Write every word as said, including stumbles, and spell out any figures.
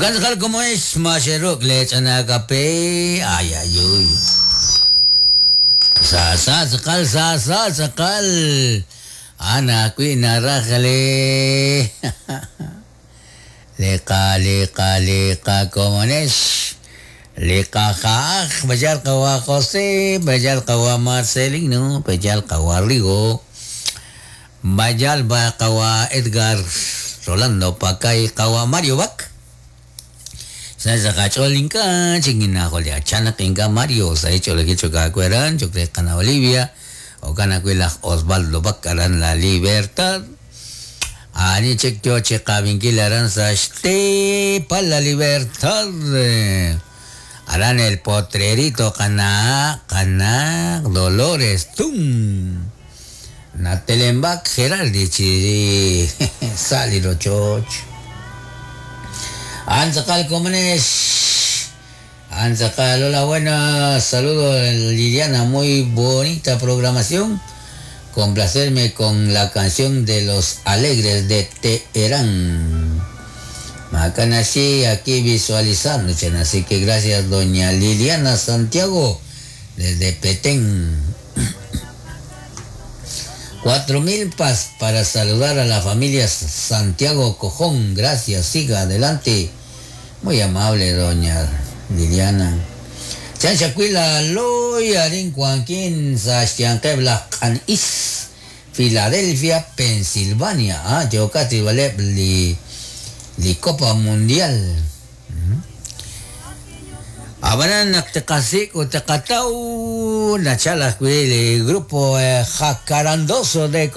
Okan tz'aqal como es maxeruk le ch'ana kape ay ay uy. Sa sa tz'aqal sa sa tz'aqal ana kwi naraj le liqa liqa liqa komonex liqa ja'aj b'ayal qawa José b'ayal qawa Marcelino b'ayal qawa Rigo b'ayal ba qawa Edgar Rolando Pacay qawa Mario Bac sa saqach'ol inka chikinajol achanak inka Mario sa ich'oleki chokakueran chokreqana Olivia okana laj Osvaldo Bac aran La Libertad ani chik yo chiqabinkil aran sa xtepa La Libertad aran el potrerito qana qana Dolores Tum Natelembak Geraldi chi sali rochoch Antzakal Comunes Antzakal, hola buenas, saludos Liliana, muy bonita programación. Complacerme con la canción de los Alegres de Teherán. Macanashi aquí visualizando, así que gracias doña Liliana Santiago desde Petén. Cuatro mil pas para saludar a la familia Santiago Cojón. Gracias, siga adelante. Muy amable, doña Liliana. Chanchacuila Loy Arin Cuanquín Sastianquebla Is Filadelfia, Pensilvania. Ah, Yocati Vale li, li Copa Mundial. Abanan naktekasik o tekatau nachala el grupo eh, Jacarandoso de